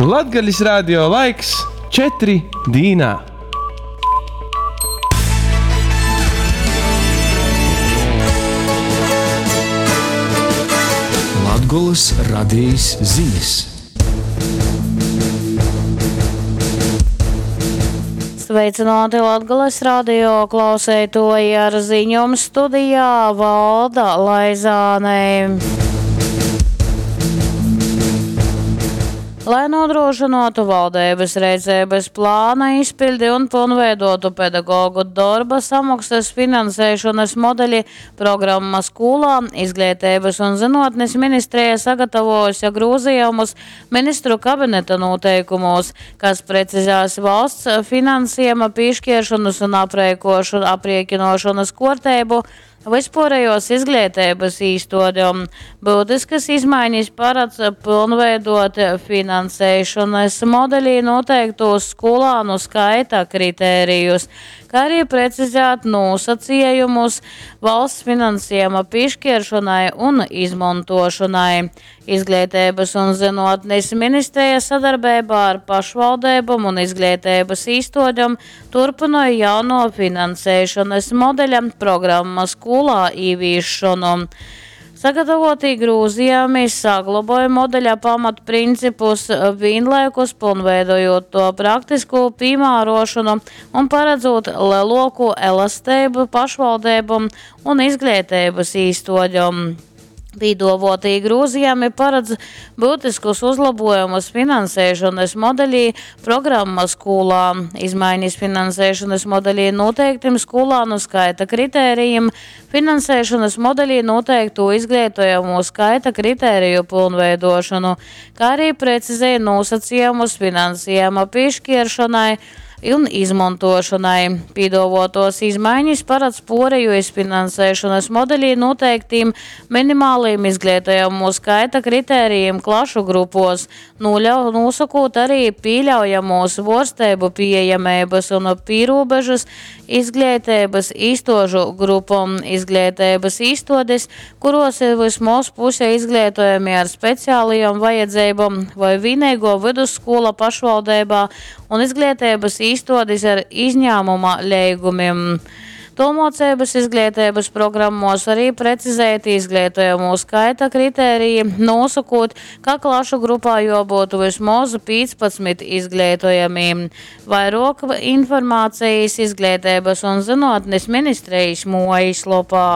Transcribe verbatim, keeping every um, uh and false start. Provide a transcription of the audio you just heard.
Latgalis radio laiks četri dīnā. Latgolys radejis zinis. Sveicināti Latgales radio klauseitoji ar ziņom studijā Valda Laizāne. Lai nodrošinātu valdības rīcības plāna izpildi un pilnveidotu pedagogu darba samaksas finansēšanas modeļi, programma skolā Izglītības un zinātnes ministrija sagatavojusi grozījumus ministru kabineta noteikumos, kas precizēs valsts finansējuma piešķiršanas un aprēķinošanas kārtību vispārējos izglītības īstodēm. Būtiskas izmaiņas paredz pilnveidot finansēšanas modelī noteiktos skolānu skaita kritērijus, kā arī precizēt nosacījumus valsts finansējuma piešķiršanai un izmantošanai. Izglītības un zinātnes ministrija sadarbībā ar pašvaldībām un izglītības īstodēm turpināja jauno finansēšanas modeļa programmas skolā ieviešanu. Sagatavotī grozījumi saglaboja modeļa pamatprincipus, vienlaikus pilnveidojot to praktisko piemērošanu un paredzot lielāku elastību pašvaldībām un izglītības īstodēm. Pīdovotī grozījumi paredz būtiskus uzlabojumus finansēšanas modelī programma skolā. Izmaiņas finansēšanas modelī noteiktim skolānu skaita kritērijiem, finansēšanas modelī noteiktu izglītojamo skaita kritēriju pilnveidošanu, kā arī precizēja nosacījumus finansējuma piešķiršanai un izmantošanai. Pīdovotos izmaiņas paredz poreju iz finansēšanas modelī noteiktīm minimāliem izglītojamo skaita kritērijiem klašu grupos, noļau, nosakot arī pieļaujamos vorsteibu pieejamības un pīrūbežas izglītības īstožu grupom izglītības īstodes, kuros ir vismaz puse izglītojami ar speciālajām vajadzībām vai vienīgo vidusskola pašvaldībā un izglītības īstodes ar izņēmuma leigumiem. Tolmocības izglītības programmos arī precizēti izglītojamo skaita kritēriji, nosakot, ka klašu grupā jābūt vismaz piecpadsmit izglītojamiem. Vairāk informācijas Izglītības un zinātnes ministrijas mājaslapā.